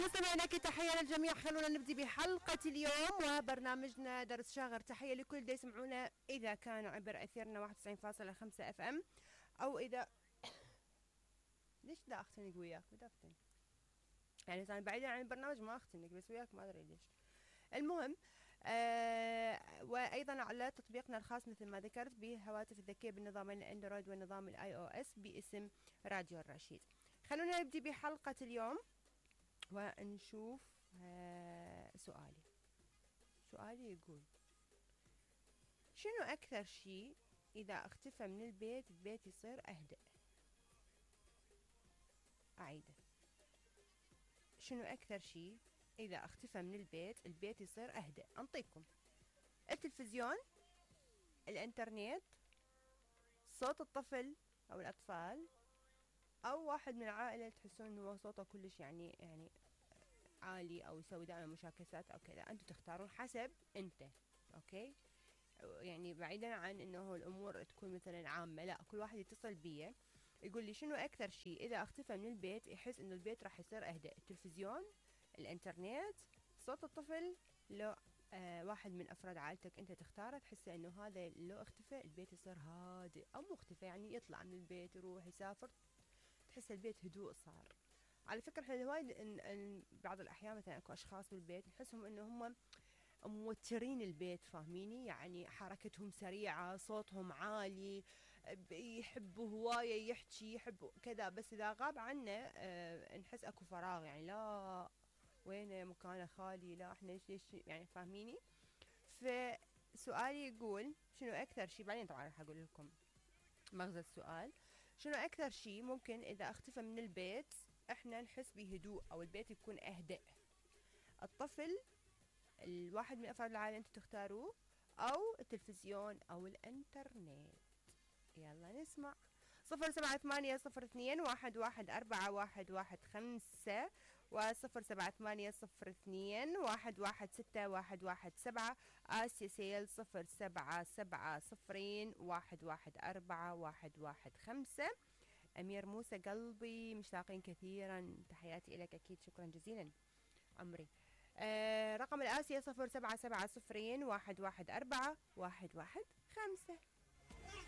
مستمعينا اكيد تحيه للجميع. خلونا نبدي بحلقه اليوم وبرنامجنا درس شاغر. تحيه لكل اللي يسمعونا اذا كانوا عبر اثيرنا 91.5 اف ام او اذا ليش لا اختنق وياك بدفتن يعني انا بعيدا عن البرنامج ما اختنق بس وياك ما ادري ليش. المهم وايضا على تطبيقنا الخاص مثل ما ذكرت بهواتف الذكيه بالنظام الاندرويد والنظام الاي او اس باسم راديو الرشيد. خلونا نبدي بحلقه اليوم ونشوف سؤالي يقول شنو أكثر شيء إذا اختفى من البيت يصير أهدأ؟ أعيده. شنو أكثر شيء إذا اختفى من البيت يصير أهدأ؟ أنطيكم التلفزيون، الإنترنت، صوت الطفل أو الأطفال، أو واحد من العائلة تحسون إنه صوته كلش يعني عالي او يسوي دائما مشاكسات او كذا. انتم تختارون حسب انت. اوكي يعني بعيدا عن انه الامور تكون مثلا عامه، لا كل واحد يتصل بي يقول لي شنو اكثر شيء اذا اختفى من البيت يحس انه البيت راح يصير اهدأ. التلفزيون، الانترنت، صوت الطفل، لو واحد من افراد عائلتك انت تختاره تحس انه هذا لو اختفى البيت يصير هادئ، او مختفى يعني يطلع من البيت يروح يسافر تحس البيت هدوء صار. على فكرة احنا وايد إن بعض الأحيان مثلا اكو أشخاص بالبيت نحسهم إنه هم موترين البيت، فاهميني؟ يعني حركتهم سريعة، صوتهم عالي، يحبوا هواية يحكي، يحبوا كذا، بس إذا غاب عنا نحس اكو فراغ، يعني لا وين مكانه خالي، لا احنا ليش يعني فاهميني؟ فسؤالي يقول شنو أكثر شيء، بعدين طبعا راح أقول لكم مغزى السؤال. شنو أكثر شيء ممكن إذا اختفى من البيت احنا نحس بهدوء او البيت يكون اهدأ؟ الطفل، الواحد من افراد العائله انتم تختاروه، او التلفزيون او الانترنت. يلا نسمع. 078021141115 و078021161117 آسيا سيل 0770114115. أمير موسى قلبي مشتاقين كثيرا، تحياتي لك أكيد، شكرا جزيلا عمري. رقم الآسيا 077011141115.